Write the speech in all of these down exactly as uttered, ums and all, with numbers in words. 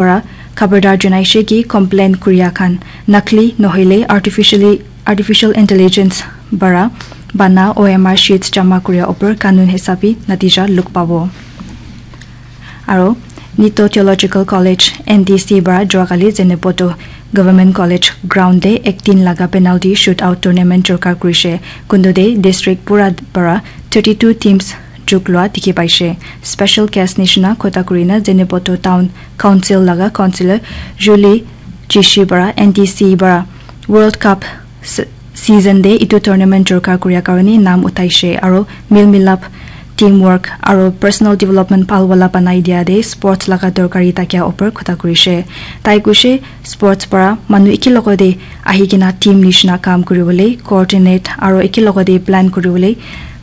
para khabardar janaishe ki complain kuria khan nakli nohoile artificially, artificial intelligence para bana O M R sheets jama kuria upor kanun hisabi natija luk pabo. Aro Nito Theological College, N T C, para juakali Zunheboto Government College ground te ek din laga penalty shootout tournament jorkar kurishe. Kundu te district pura para thirty-two teams jug lua dikhi paishe. Special guest nishina khota kurina Zunheboto Town Council laga councillor Julie Chishi para N T C para World Cup se- season te etu tournament jorkar kuria karone naam uthaishe aro mil milap, teamwork aro personal development bhal wala banai dia te sports laga dorkari thakia upor khota kurishe. Tai kuishe sports para manu eki logote ahi kena team nishina kam kuribole, coordinate aro eki logote plan kuribole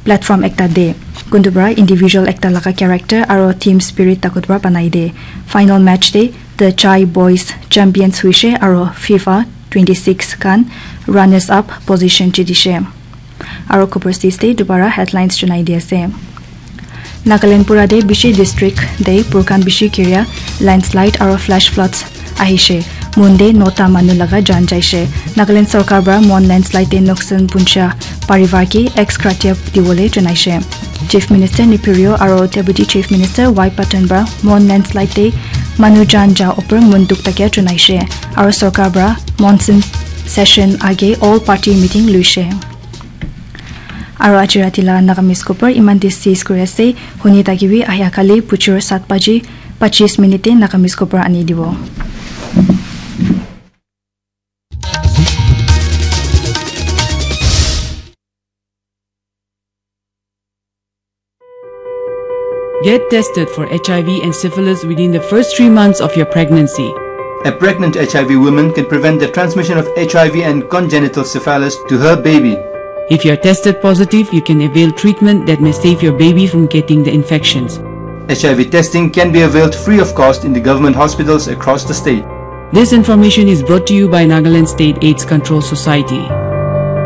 platform ekta de. Kuntu para individual ekta laga character aro team spirit takut para banai de. Final match te the Chai Boys champions huishe aro FIFA twenty-six khan runners up position jidishe. Aro khobor sis te dubara headlines junai di ase. Nagaland pura te bishi district te purkan bishi kiria landslide aro flash floods ahishe. Mon te nota manu laga jan jaishe. Nagaland sorkar para Mon landslide te noksan puncha parivar ki ex gratia diwole janaishe. Chief Minister Neiphiu Rio aro Deputy Chief Minister Y Patton para Mon landslide te manu jan ja upor mon dukh thakia janaishe. Aro sorkar para monsoon session age all party meeting luishe. Aro aji rati la Nagamese khobor iman te sis kuri ase. Huni thakibi ahia kali bujor sat baji pachis minute te Nagamese khobor ani dibo. Get tested for H I V and syphilis within the first three months of your pregnancy. A pregnant H I V woman can prevent the transmission of H I V and congenital syphilis to her baby. If you're tested positive, you can avail treatment that may save your baby from getting the infections. H I V testing can be availed free of cost in the government hospitals across the state. This information is brought to you by Nagaland State AIDS Control Society.